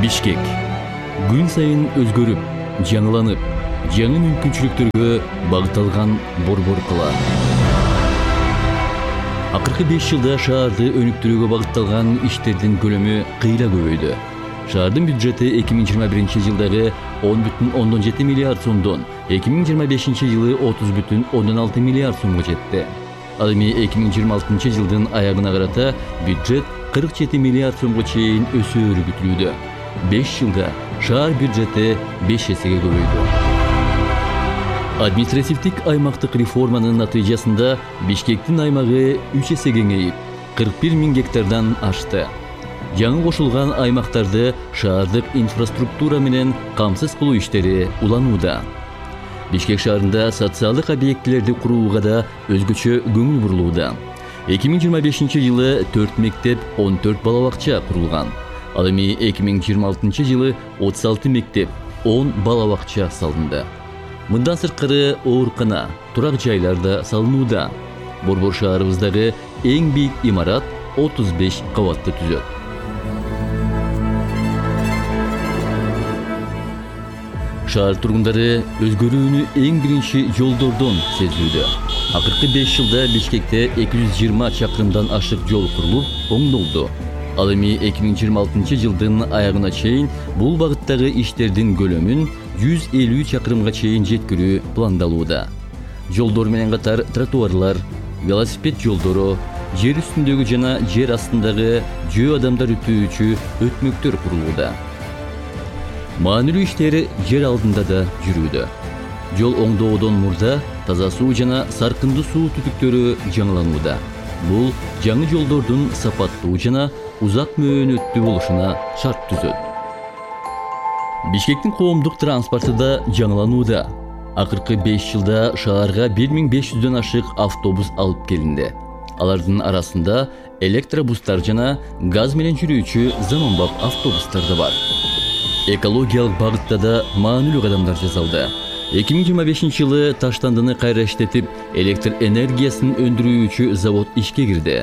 Бишкек күн сайын өзгөрүп, жаңыланып, жаңы мүмкүнчүлүктөргө багытталган борбор кала. Акыркы 5 жылда шаарды өнүктүрүүгө багытталган иштердин көлөмү кыйла көбөйдү. Шаардын бюджети 2021 жылдагы 10,7 миллиард сомдон 2025 жылы 30,6 миллиард сомго жетти. Ал эми 2026 жылдын аягына карата бюджет 47 миллиард сомго чейин өсөөрү күтүлүүдө. 5 жылда шаар бюджети 5 эсеге көбөйдү. Административдик аймактык реформанын натыйжасында Бишкектин аймагы 3 эсе кеңейип, 41 000 гектардан ашты. Жаңы кошулган аймактарды шаардык инфраструктура менен камсыз кылуу иштери уланууда. Бишкек шаарында социалдык объектилерди курууга да өзгөчө көңүл бурулууда. 2025 жылы 4 мектеп, 14 бала бакча курулган. Ал эми 2026 жылы 36 мектеп, 10 бала бакча салынды. Мындан сырткары оорукана, турак жайлар да салынууда. Борбор шаарыбыздагы эң бийик имарат 35 кабатты түзөт. Шаар тургундары өзгөрүүнү эң биринчи жолдордон сезүүдө. Акыркы 5 жылда Бишкекте 220 чакырымдан ашык жол курулуп, оңдолду. Ал эми 2026 жылдын аягына чейин бул багыттагы иштердин көлөмүн 150 чакырымга чейин жеткирүү пландалууда. Жолдор менен катар тротуарлар, велосипед жолдору, жер үстүндөгү жана жер астындагы жөө адамдар өтүүчү өтмөктөр курулууда. Маанилүү иштери жер алдында да жүрүүдө. Жол оңдоодон мурда таза суу жана саркындуу суу түтүктөрү жаңыланууда. Бул жаңы жолдордун сапаттуу жана узак мөөнөттүү болушуна шарт түзөт. Бишкектин коомдук транспорту да жаңыланууда. Акыркы 5 жылда шаарга 1500дөн ашык автобус алып келинди. Алардын арасында электробустар жана газ менен жүрүүчү заманбап автобустар да бар. Экологиялык багытта да маанилүү кадамдар жасалды. 2025 жылы Таштандыны кайра иштетип, электр энергиясын өндүрүүчү завод ишке кирди.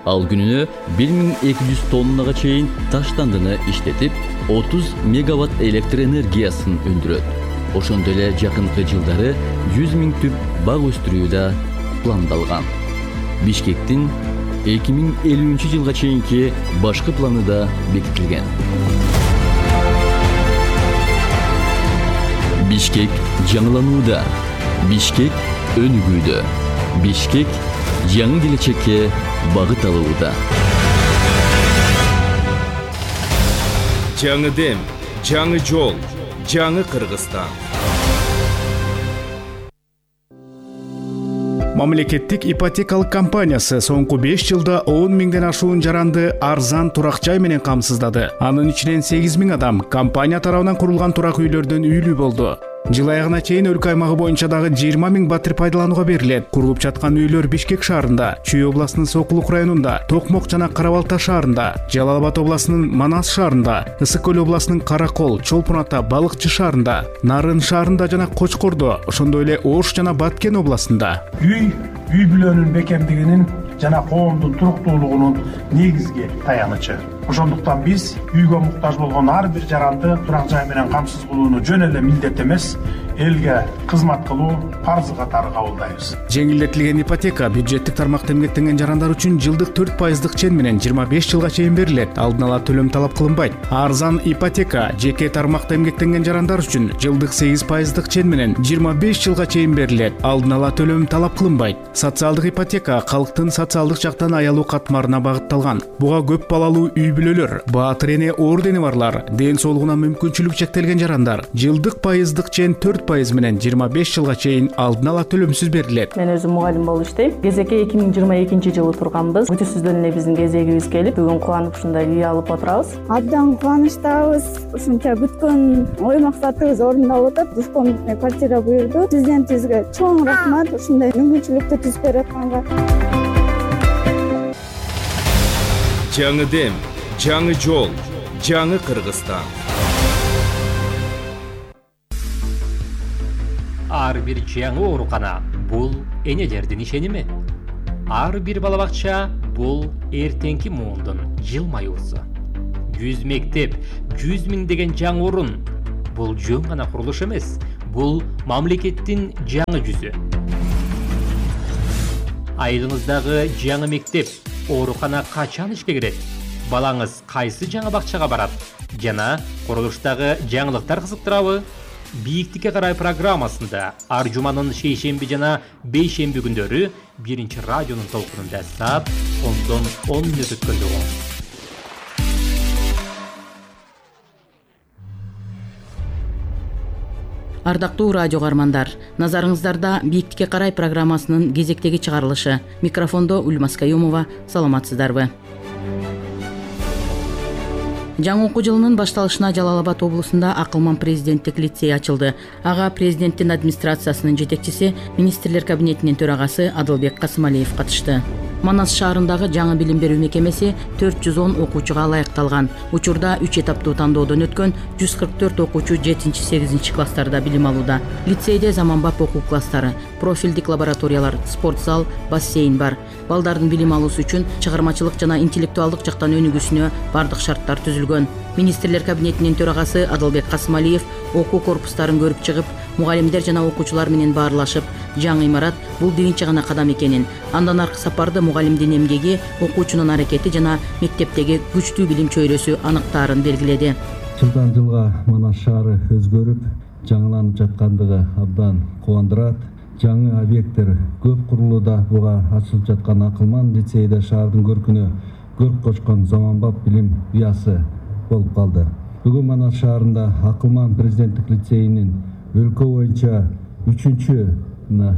Ал күнүнө 1200 тоннага чейин Таштандыны иштетип, 30 мегаватт электр энергиясын өндүрөт. Ошондой эле жакынкы жылдары 100 000 түп бак өстүрүү да пландалган. Бишкектин 2050 жылга чейинки башкы планы да бекитилген. Бишкек жаңыланууда. Бишкек өнүгүүдө. Бишкек жаңы келечекке багыт алууда. Жаңы дем, жаңы жол, жаңы Кыргызстан. Мамлекеттик ипотекалык компаниясы соңку 5 жылда 10 000ден ашуун жаранды арзан турак жай менен камсыздады. Анын ичинен 8 000 адам компания тарабынан курулган турак үйлөрдөн үйлүү болду. Жыл аягына чейин өлкө аймагы боюнча дагы 20 000 батир пайдаланууга берилет. Курулуп жаткан үйлөр Бишкек шаарында, Чүй областынын Сокулук районунда, Токмок жана Кара Балта шаарында, Жалал Абад областынын Манас шаарында, Ысык Көл областынын Каракол, Чолпон Ата, Балыкчы шаарында, Нарын шаарында жана Кочкордо, ошондой эле Ош жана Баткен областында. Үй бүлөнүн бекемдигинин жана коомдун туруктуулугунун негизги таянычы. Ошондуктан биз үйгө муктаж болгон ар бир жаранды турак жай менен камсыз кылууну жөн эле милдет эмес, элге кызмат кылуу парзы катары кабылдайбыз. Жеңилдетилген ипотека бюджеттик тармакта эмгектенген жарандар үчүн жылдык 4% чен менен 25 жылга чейин берилет. Алдын ала төлөм талап кылынбайт. Арзан ипотека жеке тармакта эмгектенген жарандар үчүн жылдык 8% чен менен 25 жылга чейин берилет. Алдын ала төлөм талап кылынбайт. Социалдык ипотека калктын социалдык жактан аялуу катмарына багытталган. Буга көп балалуу үй бүлөлөр, баатыр эне оордени барлар, ден соолугуна мүмкүнчүлүк чектелген жарандар жылдык пайыздык чен 4% менен 25 жылга чейин алдын ала төлөмсүз берилет. Мен өзүм мугалим болуп иштейм. Кезекке 2022 жылы турганбыз. Күтүүсүздөн эле биздин кезегибиз келип, бүгүн кубанып ушундай үй алып отурабыз. Абдан кубанычтабыз. Ушунча күткөн ой максатыбыз орундалып атат. Душком квартира буйрду. Президентибизге чоң рахмат ушундай мүмкүнчүлүктү түзүп берип атканга. Жаңы дем, жаңы жол, жаңы Кыргызстан. Ар бир жаңы оорукана бул энелердин ишеними. Ар бир бала бакча бул эртеңки муундун жылмаюусу. 100 мектеп, 100 миңдеген жаңы орун. Бул жөн гана курулуш эмес, бул мамлекеттин жаңы жүзү. Айылыңыздагы жаңы мектеп, оорукана качан ишке кирет? Балаңыз кайсы жаңы бакчага барат? Жана курулуштагы жаңылыктар кызыктырабы? Бийиктикке карай программасында ар жуманын шейшемби жана бейшемби күндөрү 1 радионун толкунунда саат 10 мүнөт өткөндө болот. Ардактуу радио каармандар, назарыңыздарда Бийиктикке карай программасынын кезектеги чыгарылышы. Микрофондо Ульмас Каюмова. Саламатсыздарбы? Жаңы окуу жылынын башталышына Жалал Абад облусунда Акылман президенттик лицей ачылды. Ага президенттин администрациясынын жетекчиси, министрлер кабинетинин төрагасы Адылбек Касымалиев катышты. Манас шаарындагы жаңы билим берүү мекемеси 410 окуучуга ылайыкталган. Учурда 3 этаптуу тандоодон өткөн 144 окуучу 7-8 класстарда билим алууда. Лицейде заманбап окуу класстары, профилдик лабораториялар, спорт зал, бассейн бар. Балдардын билим алуусу үчүн чыгармачылык жана интеллектуалдык жактан өнүгүүсүнө бардык шарттар түзүлгөн. Министрлер кабинетинин төрагасы Адылбек Касымалиев окуу корпустарын көрүп чыгып, мугалимдер жана окуучулар менен баарлашып, жаңы имарат бул биринчи гана кадам экенин, андан аркы сапарды мугалимдин эмгеги, окуучунун аракети жана мектептеги күчтүү билим чөйрөсү аныктаарын белгиледи. Жылдан жылга Манас шаары өзгөрүп, жаңыланып жаткандыгы абдан кубандырат. Жаңы объекттер көп курулууда. Буга ачылып жаткан Акылман лицейде шаардын көркүнө көрк кочкон заманбап билим уясы болуп калды. Бүгүн Манас шаарында Акылман президенттик лицейинин өлкө боюнча 3-чү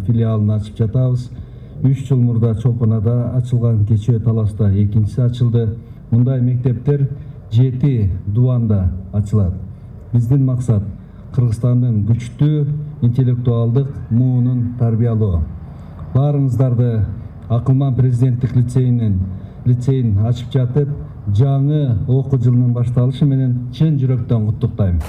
филиалын ачып жатабыз. 3 жыл мурда Чолпонада ачылган, кечээ Таласта экинчиси ачылды. Мындай мектептер 7 дубанда ачылат. Биздин максат Кыргызстандын күчтүү интеллектуалдык муунун тарбиялоо. Баарыңыздарды Акылман президенттик лицейин ачып жатып, жаңы окуу жылынын башталышы менен чын жүрөктөн куттуктайм.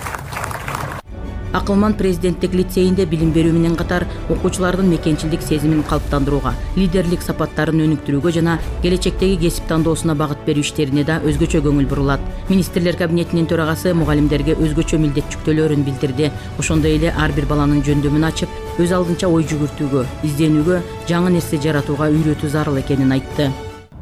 Акылман президенттик лицейинде билим берүү менен катар окуучулардын мекенчилдик сезимин калыптандырууга, лидерлик сапаттарын өнүктүрүүгө жана келечектеги кесип тандоосуна багыт берүү иштерине да өзгөчө көңүл бурулат. Министрлер кабинетинин төрагасы мугалимдерге өзгөчө милдет жүктөлөөрүн билдирди. Ошондой эле ар бир баланын жөндөмүн ачып, өз алдынча ой жүгүртүүгө, изденүүгө, жаңы нерсе жаратууга үйрөтүү зарыл экенин айтты.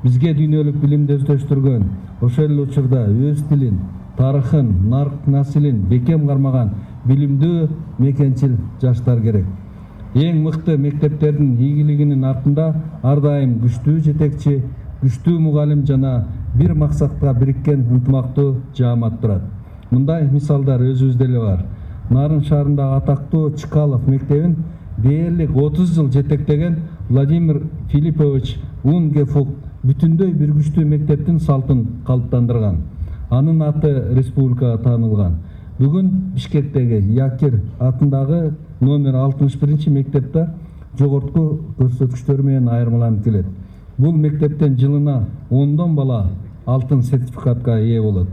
Бизге дүйнөлүк билимди өздөштүргөн, ошол эле учурда өз тилин, тарыхын, нарк насилин бекем кармаган билимдүү мекенчил жаштар керек. Эң мыкты мектептердин ийгилигинин артында ар дайым күчтүү жетекчи, күчтүү мугалим жана бир максатка бириккен ынтымактуу жаамат турат. Мындай мисалдар өзүбүздө эле бар. Нарын шаарындагы атактуу Чкалов мектебин дээрлик 30 жыл жетектеген Владимир Филиппович Унгефук бүтүндөй бир күчтүү мектептин салтын калыптандырган. Анын аты республикага таанылган. Бүгүн Бишкектеги Якир атындагы номер 61 мектепте жогорку көрсөткүчтөр менен айырмаланып келет. Бул мектептен жылына 10 бала алтын сертификатка ээ болот.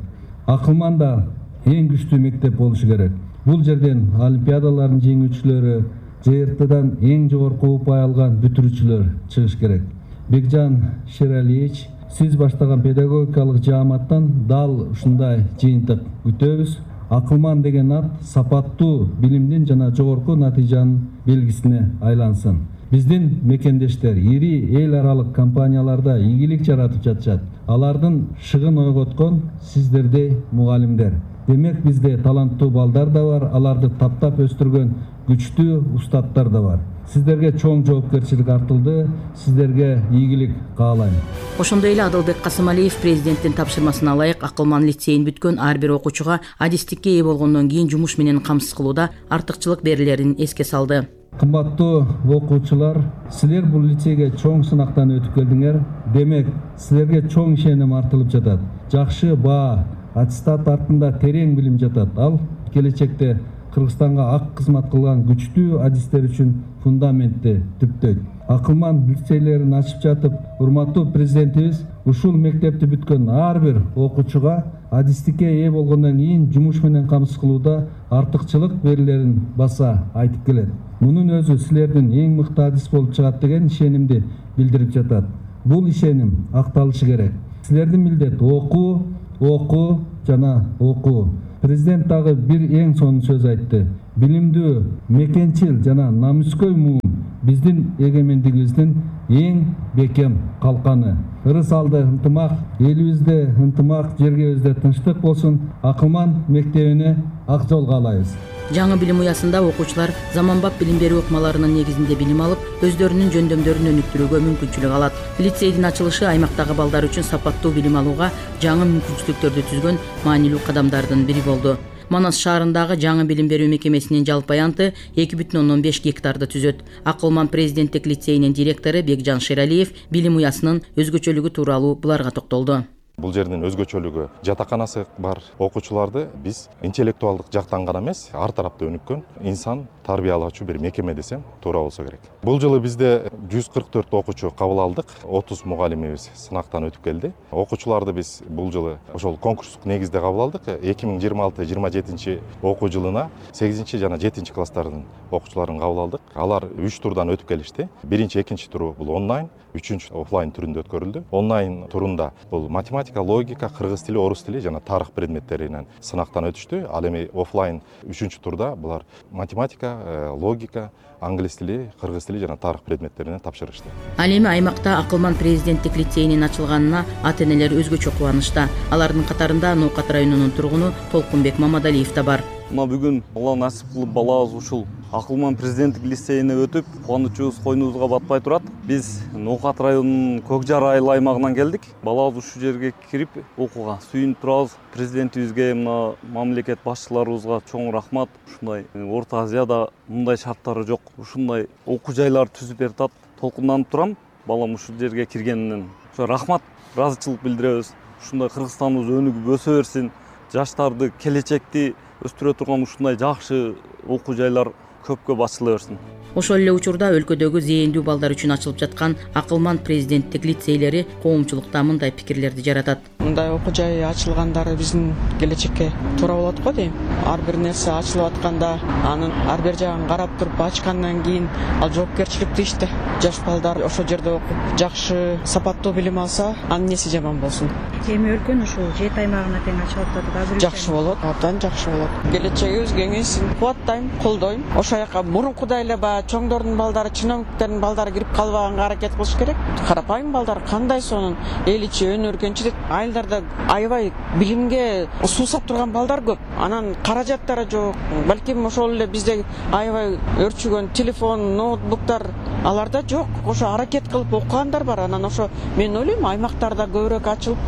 Акылманда эң күчтүү мектеп болушу керек. Бул жерден олимпиадалардын жеңүүчүлөрү, ЖРТдан эң жогорку упай алган бүтүрүүчүлөр чыгыш керек. Бекжан Шералиевич, сиз баштаган педагогикалык жааматтан дал ушундай жыйынтык күтөбүз. Акылман деген ат сапаттуу билимдин жана жогорку натыйжанын белгисине айлансын. Биздин мекендештер ири эл аралык компанияларда ийгилик жаратып жатышат. Алардын шыгын ойготкон сиздердей мугалимдер. Демек бизде таланттуу балдар да бар, аларды таптап өстүргөн күчтүү устаттар да бар. Сиздерге чоң жоопкерчилик артылды, сиздерге ийгилик каалайм. Ошондой эле Адылбек Касымалиев президенттин тапшырмасына ылайык Акылман лицейин бүткөн ар бир окуучуга адистикке ээ болгондон кийин жумуш менен камсыз кылууда артыкчылык берилерин эске салды. Кымбаттуу окуучулар, силер бул лицейге чоң сынактан өтүп келдиңер. Демек, силерге чоң ишеним артылып жатат. Жакшы баа, аттестат артында терең билим жатат. Ал келечекте Кыргызстанга ак кызмат кылган күчтүү адистер үчүн фундаментти түптөйт. Акылман лицейлерин ачып жатып, урматтуу президентибиз ушул мектепти бүткөн ар бир окуучуга адистикке ээ болгондон кийин жумуш менен камсыз кылууда артыкчылык берилерин баса айтып келет. Мунун өзү силердин эң мыкты адис болуп чыгат деген ишенимди билдирип жатат. Бул ишеним акталышы керек. Силердин милдет окуу, жана окуу. Президент дагы бир эң сонун сөз айтты. Билимдүү, мекенчил жана намыскөй муун биздин эгемендигибиздин эң бекем калканы. Ырыс алды ынтымак, элибизде ынтымак, жергебизде тынчтык болсун. Акылман мектебине ак жол каалайбыз. Жаңы билим уясында окуучулар заманбап билим берүү ыкмаларынын негизинде билим алып, өздөрүнүн жөндөмдөрүн өнүктүрүүгө мүмкүнчүлүк алат. Лицейдин ачылышы аймактагы балдар үчүн сапаттуу билим алууга жаңы мүмкүнчүлүктөрдү түзгөн маанилүү кадамдардын бири болду. Манас шаарындагы жаңы билим берүү мекемесинин жалпы аянты 2,5 гектарды түзөт. Акылман президенттик лицейинин директору Бекжан Шералиев билим уясынын өзгөчөлүгү тууралуу буларга токтолду. Бул жердин өзгөчөлүгү жатаканасы бар. Окуучуларды биз интеллектуалдык жактан гана эмес, ар тарапта өнүккөн инсан тарбиялаучу бир мекеме десем туура болсо керек. Бул жылы бизде 144 окуучу кабыл алдык, 30 мугалимибиз сынактан өтүп келди. Окуучуларды биз бул жылы ошол конкурстук негизде кабыл алдык. 2026-27 окуу жылына 8 жана 7 класстардын окуучуларын кабыл алдык. Алар 3 турдан өтүп келишти. Биринчи, экинчи туру бул онлайн, үчүнчү офлайн түрүндө өткөрүлдү. Онлайн турунда бул математика, логика, кыргыз тили, орус тили жана тарых предметтеринен сынактан өтүштү. Ал эми офлайн үчүнчү турда булар математика, логика, англис тили, кыргыз тили жана тарых предметтеринен тапшырышты. Ал эми аймакта Акылман президенттик лицейинин ачылганына ата-энелер өзгөчө кубанычта. Алардын катарында Ноокат районунун тургуну Толкунбек Мамадалиев да бар. Мына бүгүн Алла насип кылып балабыз ушул Акылман президенттик лицейине өтүп, кубанычыбыз койнубузга батпай турат. Биз Ноокат районунун Көк Жар айыл аймагынан келдик. Балабыз ушул жерге кирип окууга сүйүнүп турабыз. Президентибизге, мына мамлекет башчыларыбызга чоң рахмат. Ушундай Орто Азияда мындай шарттары жок, ушундай окуу жайлар түзүп берип, толкунданып турам. Балам ушул жерге киргенинен рахмат, ыраазычылык билдиребиз. Ушундай Кыргызстаныбыз өнүгүп өсө берсин. Жаштарды, келечекти өстүрө турган ушундай жакшы окуу жайлар көпкө ачыла берсин. Ошол эле учурда өлкөдөгү зээндүү балдар үчүн ачылып жаткан Акылман президенттик лицейлери коомчулукта мындай пикирлерди жаратат. Мындай окуу жай ачылгандары биздин келечекке туура болот го дейм. Ар бир нерсе ачылып атканда анын ар бир жагын карап туруп ачкандан кийин ал жоопкерчиликтүү иште. Жаш балдар ошол жерде окуп жакшы сапаттуу билим алса, анын эмнеси жаман болсун. Эми өлкөнүн ушул 7 аймагына тең ачылып атат. Жакшы болот, абдан жакшы болот. Келечегибиз кеңейсин. Кубаттайм, колдойм. Ошол жака мурункудай эле чоңдордун балдары, чиновниктердин балдары кирип калбаганга аракет кылыш керек. Карапайым балдар кандай сонун эл ичи өнөргөнчү дейт. Айылдарда аябай билимге суусап турган балдар көп. Анан каражаттары жок. Балким ошол эле бизде аябай өрчүгөн телефон, ноутбуктар аларда жок. Ошо аракет кылып окугандар бар. Анан ошо мен ойлойм аймактарда көбүрөөк ачылып,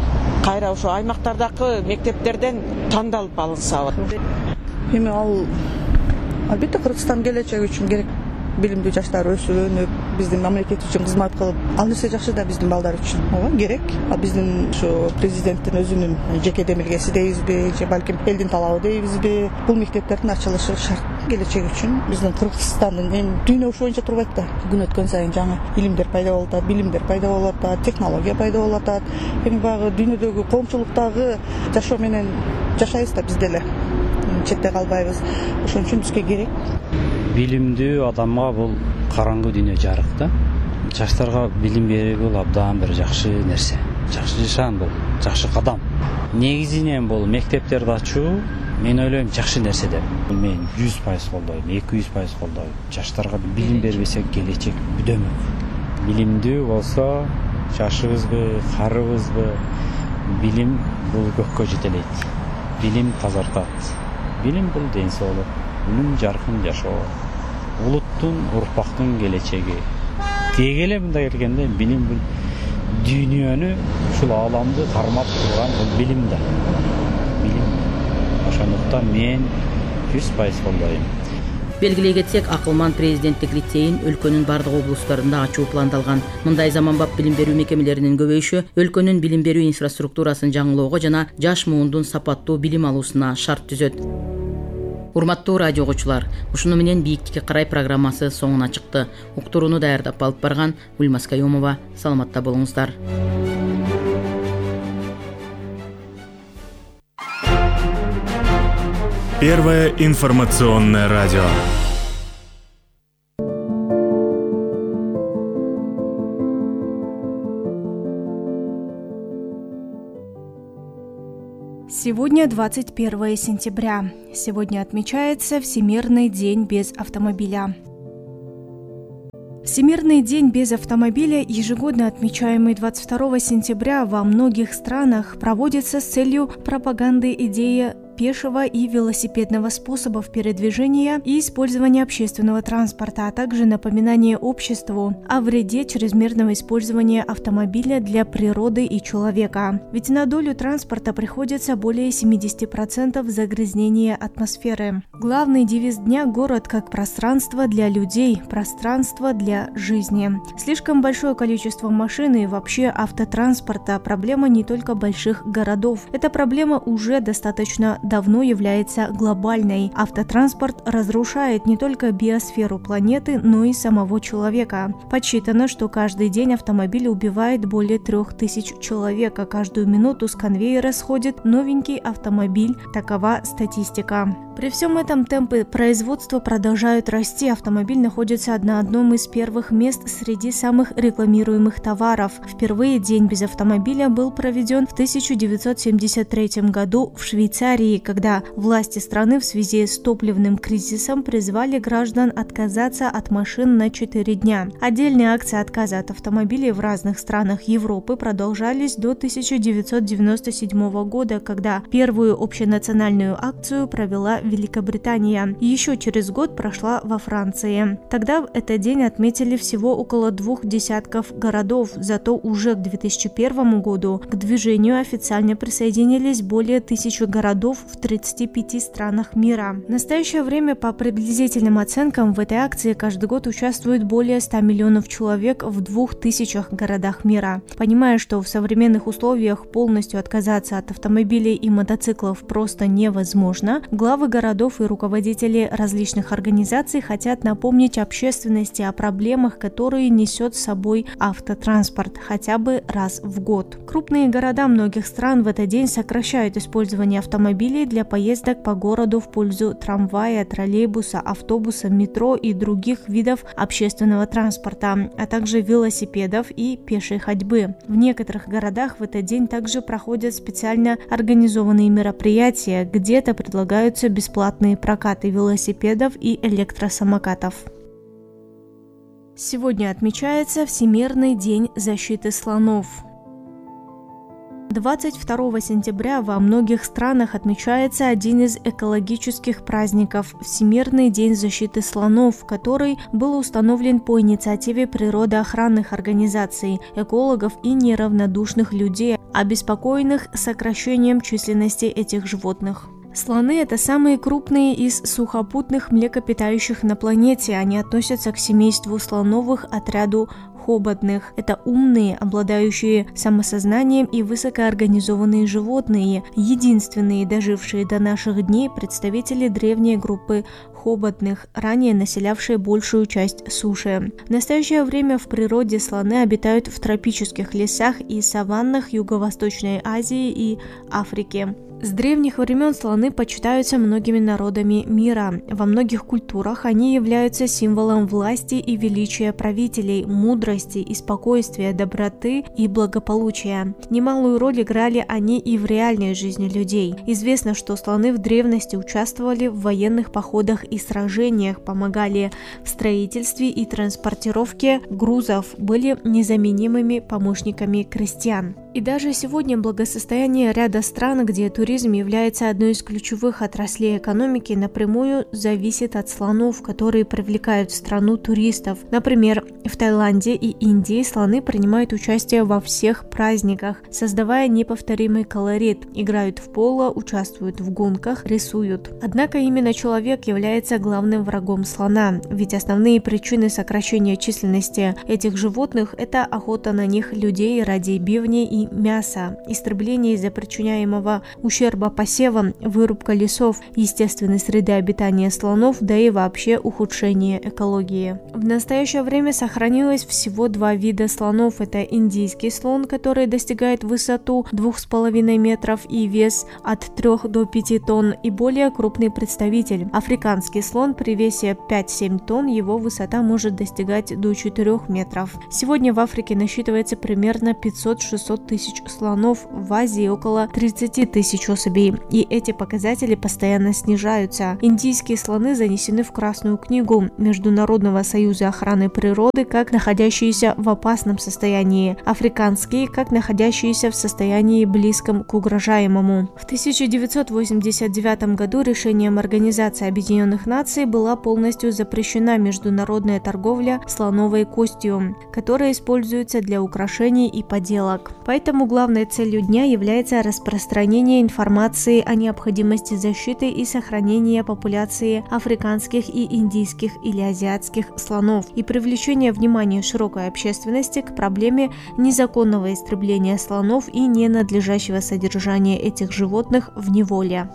кайра ошо аймактардагы мектептерден тандалып алынса. Эми ал албетте Кыргызстан келечеги үчүн керек. Билимдүү жаштар өсүп өнүп, биздин мамлекет үчүн кызмат кылып, ал нерсе жакшы да биздин балдар үчүн. Ооба, керек. А биздин ушу президенттин өзүнүн жеке демилгеси дейбизби, же балким элдин талабы дейбизби, бул мектептердин ачылышы шарт келечек үчүн. Биздин Кыргызстандын эми дүйнө ушул боюнча турбайт да. Күн өткөн сайын жаңы илимдер пайда болуп атат, билимдер пайда болуп атат, технология пайда болуп атат. Эми баягы дүйнөдөгү коомчулуктагы жашоо менен жашайбыз да биз деле. Четте калбайбыз. Ошон үчүн бизге керек. Билимдүү адамга бул караңгы дүйнө жарык да. Жаштарга билим берүү бул абдан бир жакшы нерсе. Жакшы нишан бул, жакшы кадам. Негизинен бул мектептерди ачуу мен ойлойм жакшы нерсе деп. Мен 100% колдойм, 200% колдойм. Жаштарга билим бербесек келечек бүдөмөк. Билимдүү болсо жашыбызбы, карыбызбы, билим бул көккө жетелейт. Билим тазартат. Билим бул ден соолук, үлүм жаркын жашоо, улуттун, урпактын келечеги. Деги эле мындай келгенде билим бул дүйнөнү, ушул ааламды кармап турган бул билим да. Билим. Ошондуктан мен 100% колдойм. Белгилей кетсек, Акылман президенттик лицейин өлкөнүн бардык облустарында ачуу пландалган. Мындай заманбап билим берүү мекемелеринин көбөйүшү өлкөнүн билим берүү инфраструктурасын жаңылоого жана жаш муундун сапаттуу билим алуусуна шарт түзөт. Урматтуу радио угуучулар, ушуну менен Бийиктикке карай программасы соңуна чыкты. Уктурууну даярдап алып барган Ульмас Каюмова. Саламатта болуңуздар. Первое информационное радио. Сегодня 21 сентября. Сегодня отмечается Всемирный день без автомобиля. Всемирный день без автомобиля, ежегодно отмечаемый 22 сентября во многих странах, проводится с целью пропаганды идеи пешего и велосипедного способов передвижения и использования общественного транспорта, а также напоминание обществу о вреде чрезмерного использования автомобиля для природы и человека. Ведь на долю транспорта приходится более 70% загрязнения атмосферы. Главный девиз дня – город как пространство для людей, пространство для жизни. Слишком большое количество машин и вообще автотранспорта – проблема не только больших городов. Эта проблема уже достаточно давно является глобальной. Автотранспорт разрушает не только биосферу планеты, но и самого человека. Подсчитано, что каждый день автомобиль убивает более 3000 человек, а каждую минуту с конвейера сходит новенький автомобиль. Такова статистика. При всем этом темпы производства продолжают расти. Автомобиль находится на одном из первых мест среди самых рекламируемых товаров. Впервые день без автомобиля был проведен в 1973 году в Швейцарии, когда власти страны в связи с топливным кризисом призвали граждан отказаться от машин на 4 дня. Отдельные акции отказа от автомобилей в разных странах Европы продолжались до 1997 года, когда первую общенациональную акцию провела Великобритания. Еще через год прошла во Франции. Тогда этот день отметили всего около 20 городов, зато уже к 2001 году к движению официально присоединились более 1000 городов в 35 странах мира. В настоящее время, по приблизительным оценкам, в этой акции каждый год участвует более 100 миллионов человек в 2000 городах мира. Понимая, что в современных условиях полностью отказаться от автомобилей и мотоциклов просто невозможно, главы городов и руководители различных организаций хотят напомнить общественности о проблемах, которые несет с собой автотранспорт хотя бы раз в год. Крупные города многих стран в этот день сокращают использование автомобилей для поездок по городу в пользу трамвая, троллейбуса, автобуса, метро и других видов общественного транспорта, а также велосипедов и пешей ходьбы. В некоторых городах в этот день также проходят специально организованные мероприятия, где-то предлагаются бесплатные прокаты велосипедов и электросамокатов. Сегодня отмечается Всемирный день защиты слонов. 22 сентября во многих странах отмечается один из экологических праздников – Всемирный день защиты слонов, который был установлен по инициативе природоохранных организаций, экологов и неравнодушных людей, обеспокоенных сокращением численности этих животных. Слоны – это самые крупные из сухопутных млекопитающих на планете. Они относятся к семейству слоновых, отряду хоботных. Это умные, обладающие самосознанием и высокоорганизованные животные, единственные дожившие до наших дней представители древней группы хоботных, ранее населявшие большую часть суши. В настоящее время в природе слоны обитают в тропических лесах и саваннах Юго-Восточной Азии и Африки. С древних времен слоны почитаются многими народами мира. Во многих культурах они являются символом власти и величия правителей, мудрости и спокойствия, доброты и благополучия. Немалую роль играли они и в реальной жизни людей. Известно, что слоны в древности участвовали в военных походах и сражениях, помогали в строительстве и транспортировке грузов, были незаменимыми помощниками крестьян. И даже сегодня благосостояние ряда стран, где туризм является одной из ключевых отраслей экономики, напрямую зависит от слонов, которые привлекают в страну туристов. Например, в Таиланде и Индии слоны принимают участие во всех праздниках, создавая неповторимый колорит, играют в поло, участвуют в гонках, рисуют. Однако именно человек является главным врагом слона, ведь основные причины сокращения численности этих животных – это охота на них людей ради бивней и мяса, истребление из-за причиняемого ущерба посевам, вырубка лесов, естественной среды обитания слонов, да и вообще ухудшение экологии. В настоящее время сохранилось всего 2 вида слонов. Это индийский слон, который достигает высоту 2,5 метров и вес от 3 до 5 тонн, и более крупный представитель. Африканский слон при весе 5-7 тонн, его высота может достигать до 4 метров. Сегодня в Африке насчитывается примерно 500-600 тысяч слонов, в Азии около 30 тысяч особей. И эти показатели постоянно снижаются. Индийские слоны занесены в Красную книгу Международного союза охраны природы как находящиеся в опасном состоянии, африканские как находящиеся в состоянии близком к угрожаемому. В 1989 году решением Организации Объединенных Наций была полностью запрещена международная торговля слоновой костью, которая используется для украшений и поделок. Поэтому главной целью дня является распространение информации о необходимости защиты и сохранения популяции африканских и индийских или азиатских слонов и привлечение внимания широкой общественности к проблеме незаконного истребления слонов и ненадлежащего содержания этих животных в неволе.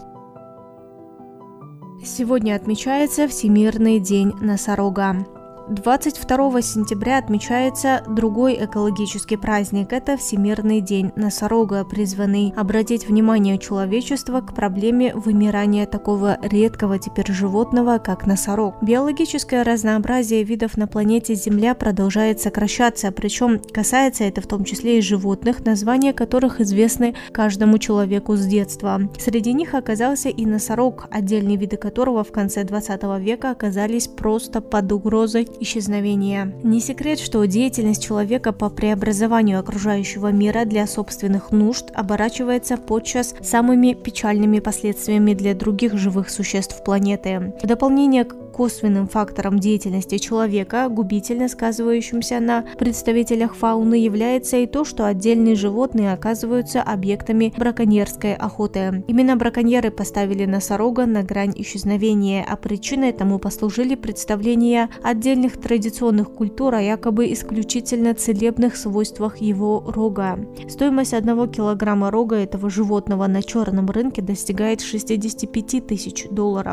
Сегодня отмечается Всемирный день носорога. 22 сентября отмечается другой экологический праздник – это Всемирный день носорога, призванный обратить внимание человечества к проблеме вымирания такого редкого теперь животного, как носорог. Биологическое разнообразие видов на планете Земля продолжает сокращаться, причем касается это в том числе и животных, названия которых известны каждому человеку с детства. Среди них оказался и носорог, отдельные виды которого в конце 20 века оказались просто под угрозой исчезновения. Не секрет, что деятельность человека по преобразованию окружающего мира для собственных нужд оборачивается подчас самыми печальными последствиями для других живых существ планеты. В дополнение к косвенным фактором деятельности человека, губительно сказывающимся на представителях фауны, является и то, что отдельные животные оказываются объектами браконьерской охоты. Именно браконьеры поставили носорога на грань исчезновения, а причиной тому послужили представления отдельных традиционных культур о якобы исключительно целебных свойствах его рога. Стоимость 1 килограмма рога этого животного на черном рынке достигает $65 тысяч,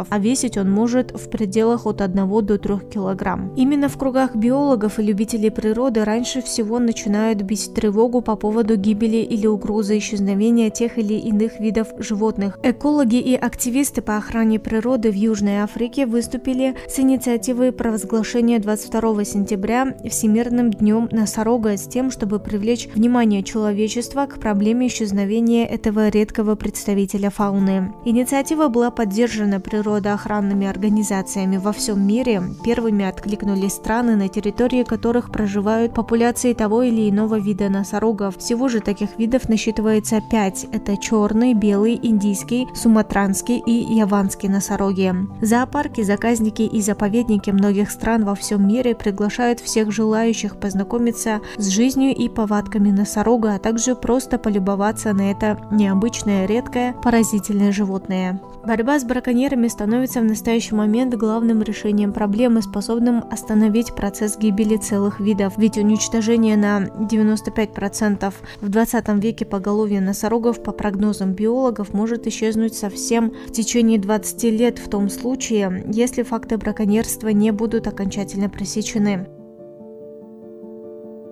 а весить он может в пределах от 1 до 3 килограмм. Именно в кругах биологов и любителей природы раньше всего начинают бить тревогу по поводу гибели или угрозы исчезновения тех или иных видов животных. Экологи и активисты по охране природы в Южной Африке выступили с инициативой провозглашения 22 сентября Всемирным днем носорога с тем, чтобы привлечь внимание человечества к проблеме исчезновения этого редкого представителя фауны. Инициатива была поддержана природоохранными организациями во всем мире. Первыми откликнулись страны, на территории которых проживают популяции того или иного вида носорогов. Всего же таких видов насчитывается 5. Это черный, белый, индийский, суматранский и яванский носороги. Зоопарки, заказники и заповедники многих стран во всем мире приглашают всех желающих познакомиться с жизнью и повадками носорога, а также просто полюбоваться на это необычное, редкое, поразительное животное. Борьба с браконьерами становится в настоящий момент главным решением проблемы, способным остановить процесс гибели целых видов. Ведь уничтожение на 95% в 20 веке поголовья носорогов, по прогнозам биологов, может исчезнуть совсем в течение 20 лет в том случае, если факты браконьерства не будут окончательно пресечены.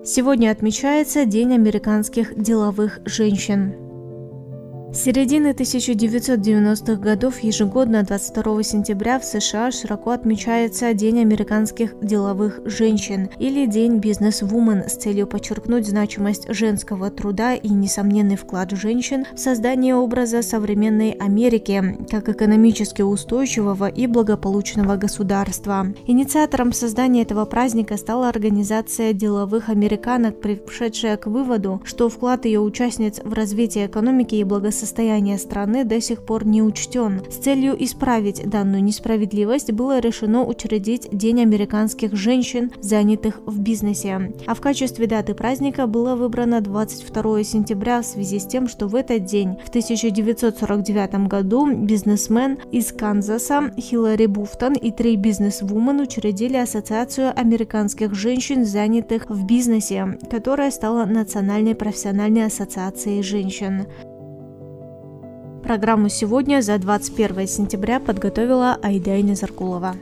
Сегодня отмечается День американских деловых женщин. С середины 1990-х годов ежегодно 22 сентября в США широко отмечается День американских деловых женщин или День бизнес-вумен с целью подчеркнуть значимость женского труда и несомненный вклад женщин в создание образа современной Америки как экономически устойчивого и благополучного государства. Инициатором создания этого праздника стала организация деловых американок, пришедшая к выводу, что вклад ее участниц в развитие экономики и благосостояние страны до сих пор не учтен. С целью исправить данную несправедливость было решено учредить День американских женщин, занятых в бизнесе. А в качестве даты праздника было выбрано 22 сентября в связи с тем, что в этот день, в 1949 году, бизнесмен из Канзаса Хиллари Буфтон и 3 бизнес-вумен учредили Ассоциацию американских женщин, занятых в бизнесе, которая стала Национальной профессиональной ассоциацией женщин. Программу сегодня за 21 сентября подготовила Айда Назаркулова.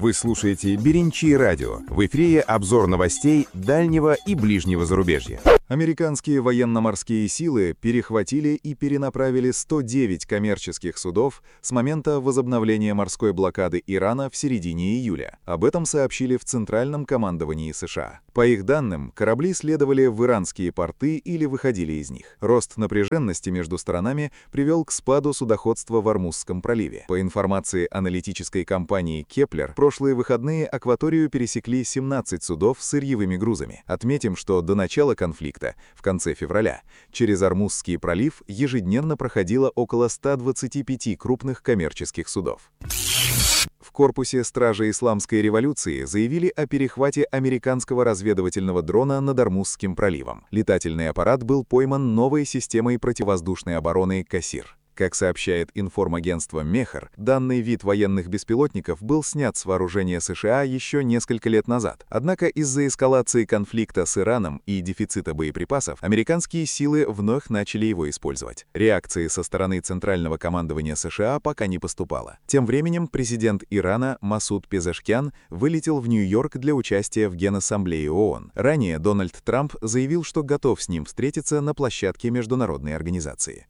Вы Вы слушаете «Беренчи радио». В эфире обзор новостей дальнего и ближнего зарубежья. Американские военно-морские силы перехватили и перенаправили 109 коммерческих судов с момента возобновления морской блокады Ирана в середине июля. Об этом сообщили в Центральном командовании США. По их данным, корабли следовали в иранские порты или выходили из них. Рост напряженности между сторонами привел к спаду судоходства в Ормузском проливе. По информации аналитической компании Kepler, прошлые выходные акваторию пересекли 17 судов с сырьевыми грузами. Отметим, что до начала конфликта, в конце февраля, через Ормузский пролив ежедневно проходило около 125 крупных коммерческих судов. В корпусе Стражи Исламской революции заявили о перехвате американского разведывательного дрона над Ормузским проливом. Летательный аппарат был пойман новой системой противовоздушной обороны «Кассир». Как сообщает информагентство Мехр, данный вид военных беспилотников был снят с вооружения США еще несколько лет назад. Однако из-за эскалации конфликта с Ираном и дефицита боеприпасов, американские силы вновь начали его использовать. Реакции со стороны Центрального командования США пока не поступало. Тем временем президент Ирана Масуд Пезешкян вылетел в Нью-Йорк для участия в Генассамблее ООН. Ранее Дональд Трамп заявил, что готов с ним встретиться на площадке международной организации.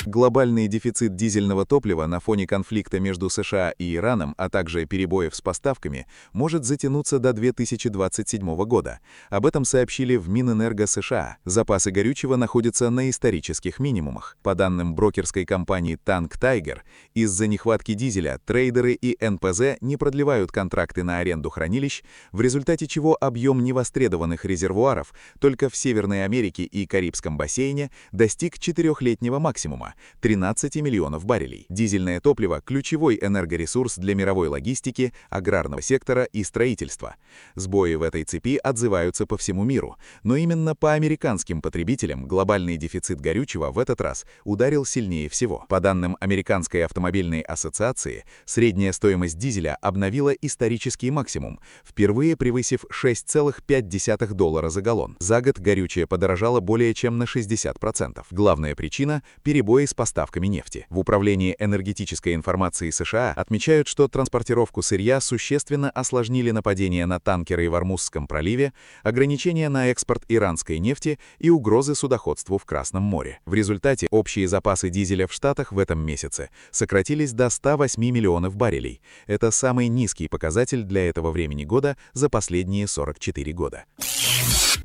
Глобальный дефицит дизельного топлива на фоне конфликта между США и Ираном, а также перебоев с поставками, может затянуться до 2027 года. Об этом сообщили в Минэнерго США. Запасы горючего находятся на исторических минимумах. По данным брокерской компании Tank Tiger, из-за нехватки дизеля трейдеры и НПЗ не продлевают контракты на аренду хранилищ, в результате чего объем невостребованных резервуаров только в Северной Америке и Карибском бассейне достиг 4-летнего максимума – 13 миллионов баррелей. Дизельное топливо – ключевой энергоресурс для мировой логистики, аграрного сектора и строительства. Сбои в этой цепи отзываются по всему миру, но именно по американским потребителям глобальный дефицит горючего в этот раз ударил сильнее всего. По данным Американской автомобильной ассоциации, средняя стоимость дизеля обновила исторический максимум, впервые превысив $6,5 за галлон. За год горючее подорожало более чем на 60%. Главная причина – перебои с поставками нефти. В Управлении энергетической информации США отмечают, что транспортировку сырья существенно осложнили нападения на танкеры в Ормузском проливе, ограничения на экспорт иранской нефти и угрозы судоходству в Красном море. В результате общие запасы дизеля в Штатах в этом месяце сократились до 108 миллионов баррелей. Это самый низкий показатель для этого времени года за последние 44 года.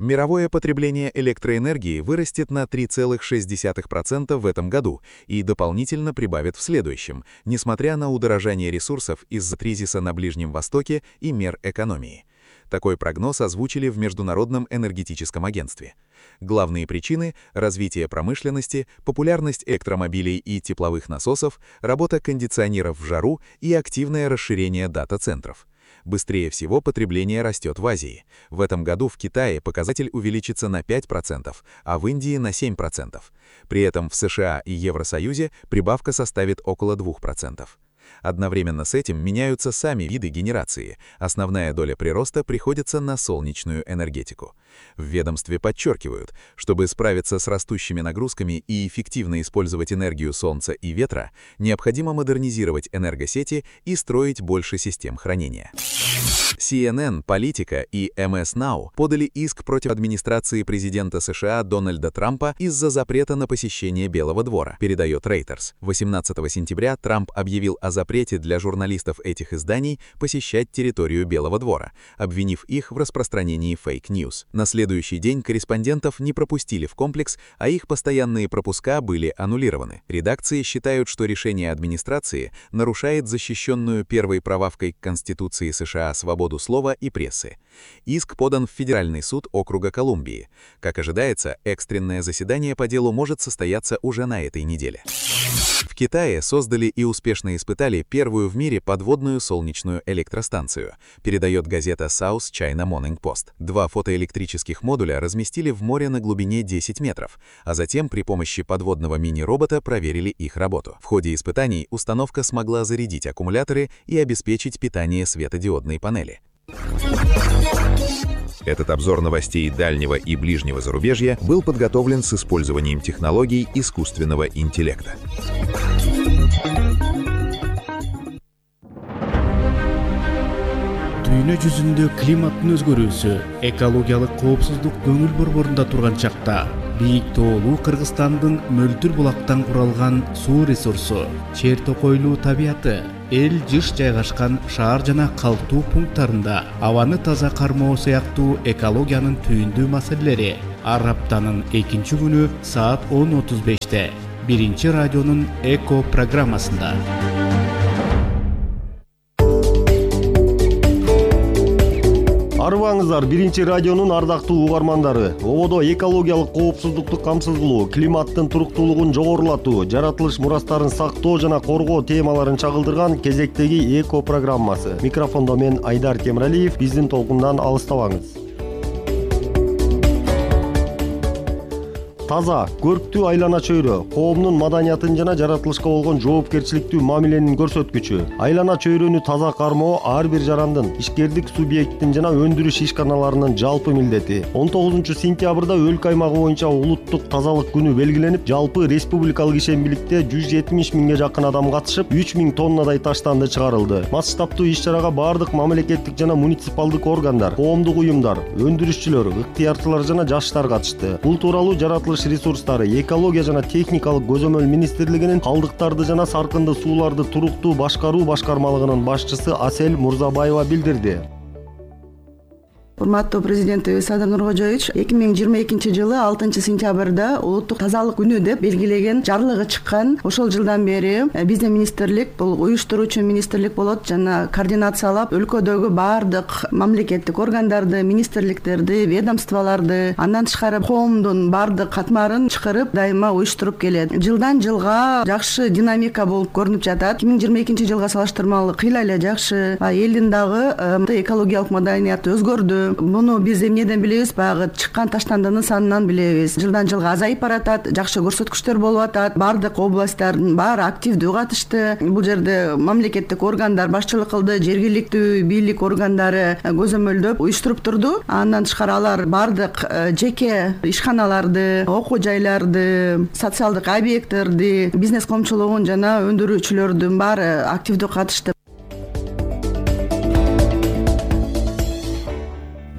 Мировое потребление электроэнергии вырастет на 3,6% в этом году и дополнительно прибавит в следующем, несмотря на удорожание ресурсов из-за кризиса на Ближнем Востоке и мер экономии. Такой прогноз озвучили в Международном энергетическом агентстве. Главные причины – развитие промышленности, популярность электромобилей и тепловых насосов, работа кондиционеров в жару и активное расширение дата-центров. Быстрее всего потребление растет в Азии. В этом году в Китае показатель увеличится на 5%, а в Индии на 7%. При этом в США и Евросоюзе прибавка составит около 2%. Одновременно с этим меняются сами виды генерации. Основная доля прироста приходится на солнечную энергетику. В ведомстве подчеркивают, чтобы справиться с растущими нагрузками и эффективно использовать энергию солнца и ветра, необходимо модернизировать энергосети и строить больше систем хранения. CNN, Политика и MS Now подали иск против администрации президента США Дональда Трампа из-за запрета на посещение Белого двора, передает Reuters. 18 сентября Трамп объявил о запрете для журналистов этих изданий посещать территорию Белого двора, обвинив их в распространении фейк-ньюс. На следующий день корреспондентов не пропустили в комплекс, а их постоянные пропуска были аннулированы. Редакции считают, что решение администрации нарушает защищенную первой прававкой Конституции США свободу слова и прессы. Иск подан в Федеральный суд округа Колумбии. Как ожидается, экстренное заседание по делу может состояться уже на этой неделе. В Китае создали и успешно испытали первую в мире подводную солнечную электростанцию, передает газета South China Morning Post. 2 фотоэлектрических модуля разместили в море на глубине 10 метров, а затем при помощи подводного мини-робота проверили их работу. В ходе испытаний установка смогла зарядить аккумуляторы и обеспечить питание светодиодной панели. Этот обзор новостей дальнего и ближнего зарубежья был подготовлен с использованием технологий искусственного интеллекта. дүйнө жүзүндө климаттын өзгөрүүсү, экологиялык коопсуздук көңүл борборунда турган чакта бийик тоолуу Кыргызстандын мөлтүр булактан куралган суу ресурсу, чер токойлуу табияты, эл жыш жайгашкан шаар жана калктуу пункттарында абаны таза кармоо сыяктуу экологиянын түйүндүү маселелери ар аптанын 2 күнү саат 10:35 биринчи радионун эко программасында. Арыбаңыздар, биринчи радионун ардактуу угармандары. Ободо экологиялык коопсуздукту камсыз кылуу, климаттын туруктуулугун жогорулатуу, жаратылыш мурастарын сактоо жана коргоо темаларын чагылдырган кезектеги эко программасы. Микрофондо мен Айдар Темиралиев. Биздин толкундан алыстабаңыз. Таза, көрктүү айлана чөйрө коомдун маданиятын жана жаратылышка болгон жоопкерчиликтүү мамиленин көрсөткүчү. Айлана чөйрөнү таза кармоо ар бир жарандын, ишкердик субъекттин жана өндүрүш ишканаларынын жалпы милдети. 19-сентябрда өлкө аймагы боюнча улуттук тазалык күнү белгиленип, жалпы республикалык ишембиликте 170 миңге жакын адам катышып, 3000 тоннадай таштанды чыгарылды. Масштабтуу иш-чарага бардык мамлекеттик жана муниципалдык органдар, коомдук уюмдар, өндүрүшчүлөр, ыктыярчылар жана жаштар катышты. Бул тууралуу жаратылыш ресурстары, экология жана техникалык көзөмөл министрлигинин калдыктарды жана саркынды сууларды туруктуу башкаруу башкармалыгынын башчысы Асель Мурзабаева билдирди. Урматтуу президентибиз Садыр Нуркожоевич 2022 жылы 6-сентябрда улуттук тазалык күнү деп белгилеген жарлыгы чыккан. Ошол жылдан бери биздин министрлик, бул уюштуруучу министрлик болот, жана координациялап өлкөдөгү бардык мамлекеттик органдарды, министрликтерди, ведомстволорду, андан тышкары коомдун бардык катмарын чакырып, дайыма уюштуруп келет. Жылдан жылга жакшы динамика болуп көрүнүп жатат. 2022 жылга салыштырмалуу кыйла эле жакшы. Элдин дагы экологиялык маданияты өзгөрдү. Муну биз эмнеден билебиз? Баягы чыккан таштандынын санынан билебиз. Жылдан жылга азайып баратат, жакшы көрсөткүчтөр болуп атат. Бардык областтардын баары активдүү катышты. Бул жерде мамлекеттик органдар башчылык кылды, жергиликтүү бийлик органдары көзөмөлдөп уюштуруп турду. Андан тышкары алар бардык жеке ишканаларды, окуу жайларды, социалдык объекттерди, бизнес коомчулугун жана өндүрүүчүлөрдүн баары активдүү катышты.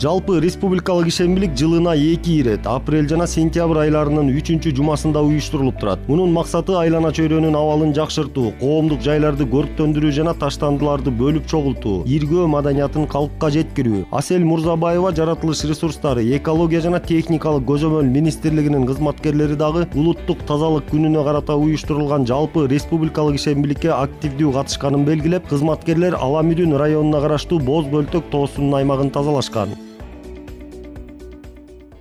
Жалпы республикалык ишембилик жылына 2 ирет, апрель жана сентябрь айларынын 3-жумасында уюштурулуп турат. Мунун максаты айлана чөйрөнүн абалын жакшыртуу, коомдук жайларды көрктөндүрүү жана таштандыларды бөлүп чогултуу, иргөө маданиятын калкка жеткирүү. Асель Мурзабаева жаратылыш ресурстары, экология жана техникалык көзөмөл министрлигинин кызматкерлери дагы улуттук тазалык күнүнө карата уюштурулган жалпы республикалык ишембиликке активдүү катышканын белгилеп, кызматкерлер Аламүдүн районуна караштуу Боз Бөлтөк тоосунун аймагын тазалашкан.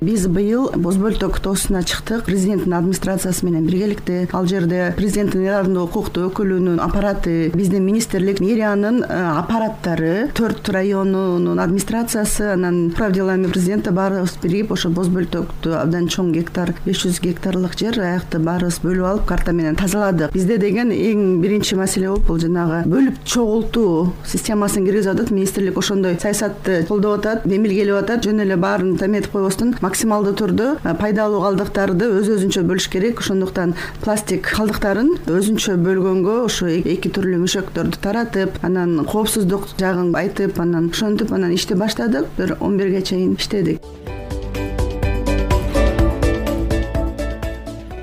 Биз быйыл Боз Бөлтөк тоосуна чыктык. Президенттин администрациясы менен биргеликте. Ал жерде президенттин ыйгарымдуу укуктуу өкүлүнүн аппараты, биздин министрлик, мэриянын аппараттары, 4 районунун администрациясы, анан управ делами президента баарыбыз биригип ошо Боз Бөлтөктү абдан чоң гектар, 500 гектарлык жер аякты баарыбыз бөлүп алып карта менен тазаладык. Бизде деген эң биринчи маселе болуп бул жанагы бөлүп чогултуу системасын киргизип атат. Министрлик ошондой саясатты колдоп атат, демилгелеп атат. Жөн эле баарын таметип койбостон максималдуу түрдө пайдалуу калдыктарды өзүнчө бөлүш керек. Ошондуктан пластик калдыктарын өзүнчө бөлгөнгө ошо 2 түрлүү мөшөктөрдү таратып, анан коопсуздук жагын айтып, анан ошентип анан ишти баштадык. Бир 11ге чейин иштедик.